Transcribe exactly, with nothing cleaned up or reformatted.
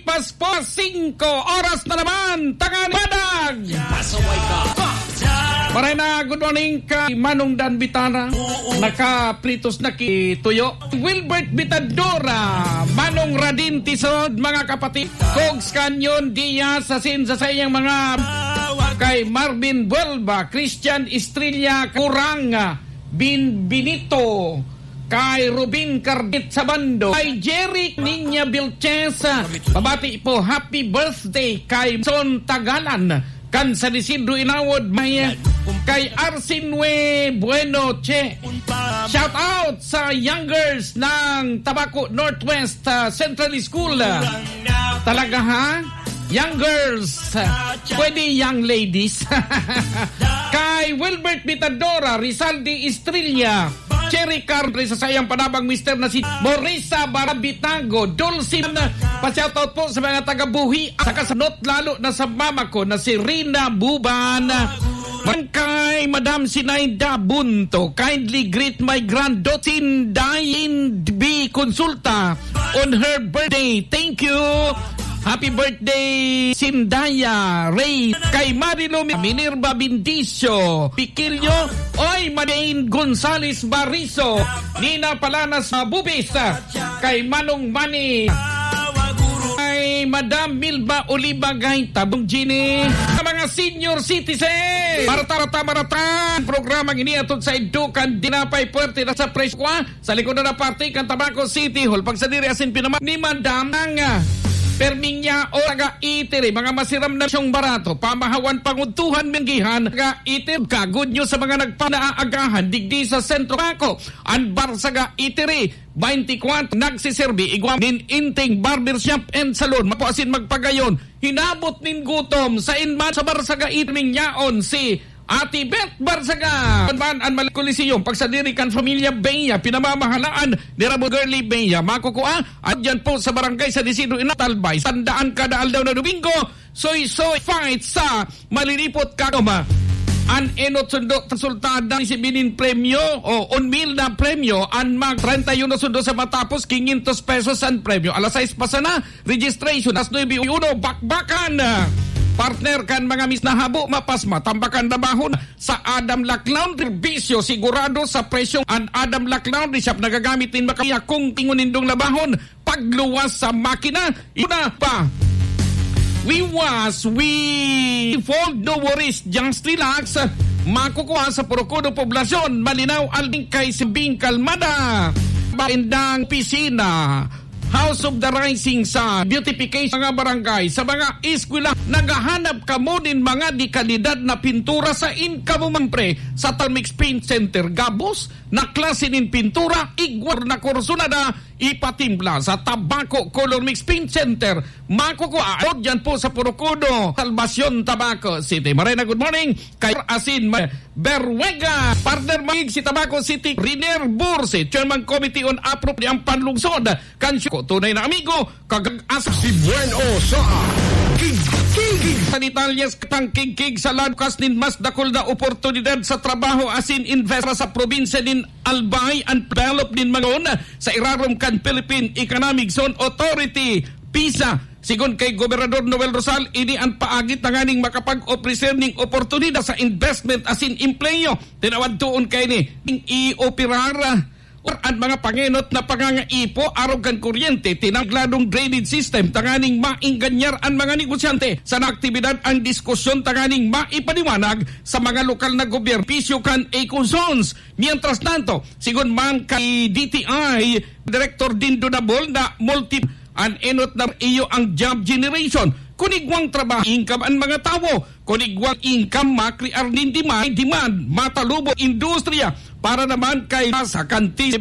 Paspas singko, oras na naman, tangan padag! Pasaway ka! Maray na, good morning kay Manong Dan Bitana. Nakaplitos na ki tuyo. Wilbert Bitadora, Manong Radin Tisod, mga kapatid. Cogs Canyon Diaz, asin sa saiyang mga kay Marvin Buelba, Christian Estrella, Kurang, Bin Benito, kay Rubin Cardit sa bando, kay Jerry Niña Vilches, pabati po, happy birthday kay Son Tagalan, kan San Isidro Inawod, may kay Arsinwe Bueno Che. Shout out sa young girls ng Tabaco Northwest, ah, Central School. Talaga, ha? Young girls, pwede young ladies. Kay Wilbert Bitadora, Rizaldi Estrella, Cherry Cardre sa sayang panabang mister na si Morisa Barabitago, Dulce, pa-shoutout po sa mga taga-Buhi, sa kasanot lalo na sa mama ko na si Rina Buban. Man kay Madam Sinaida Bunto, kindly greet my granddaughter Sinday in B Consulta on her birthday. Thank you. Happy birthday, Sindaya Ray. Kay Marilu Minerva Bindicio, Pikilyo, oy, Madain Gonzales Bariso, Nina Palanas Bubis, kay Manong Manny, kay Madam Milba Oliva Gaita, Bong Gini, sa mga senior citizen. Marata, marata, marata. Ang programang iniatod sa Edukan Dinapay, puwerte na sa presyo kwa. Sa likod na parte kan Tabaco City Hall, pagsadiri asin pinama ni Madam ang, ah, Perminya o taga Itiri, mga masiram na siyang barato, pamahawan, pangudtuhan, minggihan, taga Itiri. Ka, good news sa mga nagpanaagahan, digdi sa Sentro Tabaco, an Barsaga Itiri, twenty-four, nagsiserbi, igwa nin Inting Barbershop and Salon, mapo asin magpagayon, hinabot nin gutom, sa inman sa Barsaga Itiri, mingyaon si Ate Beth Barsaga. An man an Mali Coliseum, pagsadiri kan Familia Bea, pinamamahalaan ni Ramo Girly Bea. Makukua, at dyan po sa Barangay San Isidro, Inatalbay. Tandaan, kada aldaw na Domingo, soy-soy fight sa Malilipot Kakoma. An enot sundo resultado, si Binin premyo, o un mil na premyo, an mag treinta y uno sundo sa matapos, quinientos pesos an premyo. Alas sais pa sana, registration, alas nuebe uno, bakbakan. Partner kan mga mis na habo, mapas matambakan na bahon. Sa Adam Laclaun Serbisyo, sigurado sa presyong an Adam Laclaun Shop nagagamit nin makaya kung tingon nindong labahon, pagluwas sa makina, una pa. We was, we fold, no worries, just relax. Makukuha sa Porocodo Poblacion, Malinaw, Alding kay Simbing Kalmada. Baindang pisina. House of the Rising Sun, beautification, mga barangay, sa mga eskwela, naghahanap kamo nin mga de kalidad na pintura sa income, pre, sa Talmix Paint Center. Gabos na klase nin pintura, igwar na kursunada, ipatimpla sa Tabaco Color Mix Paint Center. Makukuha dyan po sa Porocodo, Salvacion, Tabaco City. Marena, good morning. Kay Asin, Beruega, partner, maig si Tabaco City, Riner Burse, Chairman Committee on Appropriate ang Panlungsod. Kansyo ko, tunay na amigo, kag-as si Bueno sa Kigkig. Sa detalyes, katang kigkig sa lakas nin mas dakul na oportunidad sa trabaho asin invest sa probinsya nin Albay, ang develop nin mga sa irarom kan Philippine Economic Zone Authority, PEZA. Sigon kay Gobernador Noel Rosal, ini an paagi tanganing makapag-opreser ning oportunidad sa investment asin empleyo. Tinawad toon kaini ning ioperar an mga pangenot na pangangaipo arog kan kuryente, tinagladong drainage system tanganing maenganyar an mga negosyante. Sa aktibidad, ang diskusyon tanganing maipaliwanag sa mga lokal na gobyerno, pisyo kan eco zones. Mientras tanto, sigon man kay D T I Director Dindo Dabol na multi An enot na iyo ang job generation. Kun igwang trabaho, income an mga tawo. Kun igwang income, makrear nin demand, demand, matalubo industriya. Para naman kay sa kantis,